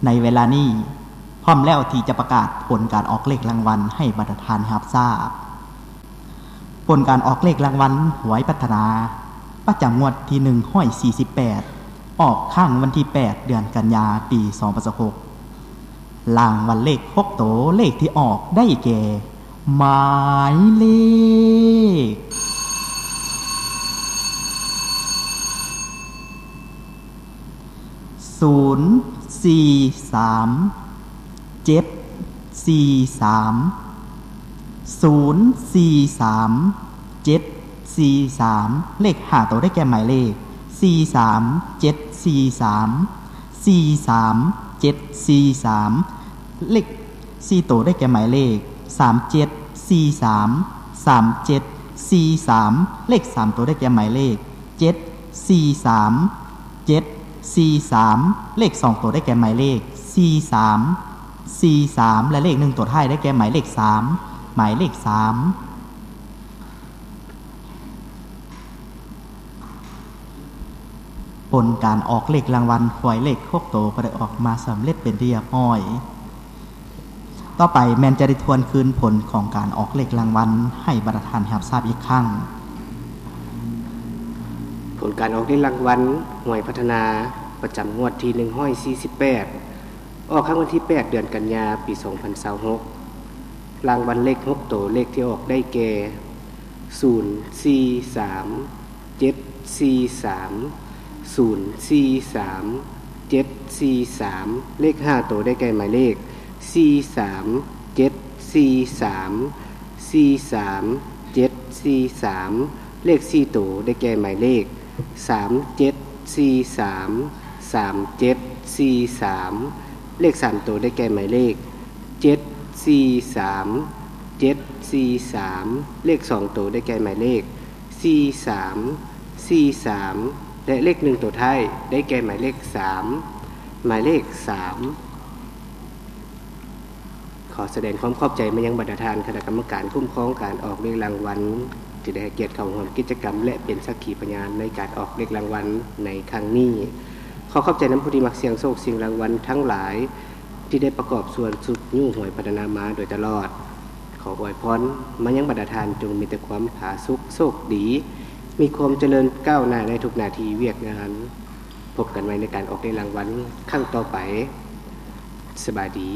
ໃນເວລານີ້ ພ້ອມແລ້ວທີ່ຈະປະກາດຜົນການອອກເລກລາງວັນໃຫ້ບັນດາທ່ານຮັບຊາບ. ຜົນການອອກເລກລາງວັນຫວຍພັດທະນາ ປະຈຳງວດທີໜຶ່ງຮ້ອຍສີ່ສິບແປດ ອອກຄັ້ງວັນທີແປດ ເດືອນກັນຍາ ປີສອງພັນຊາວຫົກ. ລາງວັນເລກຫົກໂຕ ເລກທີ່ອອກໄດ້ແກ່ ໝາຍເລກ ສູນສີ່ສາມ ເຈັດສີ່ສາມ ສູນສີ່ສາມ ເຈັດສີ່ສາມ ເລກຫ້າໂຕໄດ້ແກ່ໝາຍເລກ ສີ່ສາມ ເຈັດສີ່ສາມ ສີ່ສາມ ເຈັດສີ່ສາມ ເລກສີ່ໂຕໄດ້ແກ່ໝາຍເລກ ສາມເຈັດສີ່ສາມ ສາມເຈັດສີ່ສາມ ເລກສາມໂຕໄດ້ແກ່ໝາຍເລກ ເຈັດສີ່ສາມ ເຈັດສີ່ສາມ ເລກສອງໂຕໄດ້ແກ່ໝາຍເລກ ສີ່ສາມ ສີ່ສາມ ແລະ ເລກໜຶ່ງໂຕທ້າຍໄດ້ແກ່ໝາຍເລກ ສາມ ໝາຍເລກ ສາມ. ຜົນການອອກເລກລາງວັນຫວຍເລກຫົກໂຕກໍໄດ້ອອກມາສຳເລັດເປັນທີ່ຮຽບຮ້ອຍ. ຕໍ່ໄປແມ່ນຈະໄດ້ທວນຄືນຜົນຂອງການອອກເລກລາງວັນໃຫ້ບັນດາທ່ານຮັບຊາບອີກຄັ້ງ. ຜົນການອອກເລກລາງວັນຫວຍພັດທະນາ ປະຈຳງວດທີໜຶ່ງຮ້ອຍສີ່ສິບແປດ ອອກຄັ້ງວັນທີແປດ ເດືອນກັນຍາ ປີສອງພັນຊາວຫົກ. ລາງວັນເລກຫົກໂຕ ເລກທີ່ອອກໄດ້ແກ່ ສູນສີ່ສາມ ເຈັດສີ່ສາມ ສູນສີ່ສາມ ເຈັດສີ່ສາມ ເລກຫ້າໂຕໄດ້ແກ່ໝາຍເລກ ສີ່ສາມ ເຈັດສີ່ສາມ ສີ່ສາມ ເຈັດສີ່ສາມ ເລກສີ່ໂຕໄດ້ແກ່ໝາຍເລກ ສາມເຈັດສີ່ສາມ ສາມເຈັດສີ່ສາມ ເລກສາມໂຕໄດ້ແກ່ໝາຍເລກ ເຈັດສີ່ສາມ ເຈັດສີ່ສາມ ເລກສອງໂຕໄດ້ແກ່ໝາຍເລກ ສີ່ສາມ ສີ່ສາມ ແລະ ເລກໜຶ່ງໂຕທ້າຍໄດ້ແກ່ໝາຍເລກ ສາມ ໝາຍເລກ ສາມ. ຂໍສະແດງຄວາມຂອບໃຈມາຍັງບັນດາທ່ານຄະນະກຳມະການຄຸ້ມຄອງການອອກເລກລາງວັນ ທີ່ໄດ້ໃຫ້ກຽດເຂົ້າຮ່ວມກິດຈະກຳ ແລະ ເປັນສັກຂີພະຍານໃນການອອກເລກລາງວັນໃນຄັ້ງນີ້. ຂໍຂອບໃຈນຳຜູ້ທີ່ມັກສ່ຽງໂຊກສ່ຽງລາງວັນທັງຫຼາຍ ທີ່ໄດ້ປະກອບສ່ວນຊຸກຍູ້ຫວຍພັດທະນາມາໂດຍຕະຫຼອດ. ຂໍອວຍພອນມາຍັງບັນດາທ່ານ ຈົ່ງມີແຕ່ຄວາມຜາສຸກໂຊກດີ, ມີຄວາມຈະເລີນກ້າວໜ້າໃນທຸກໜ້າທີ່ວຽກງານ. ພົບກັນໃໝ່ໃນການອອກເລກລາງວັນຄັ້ງຕໍ່ໄປ. ສະບາຍດີ.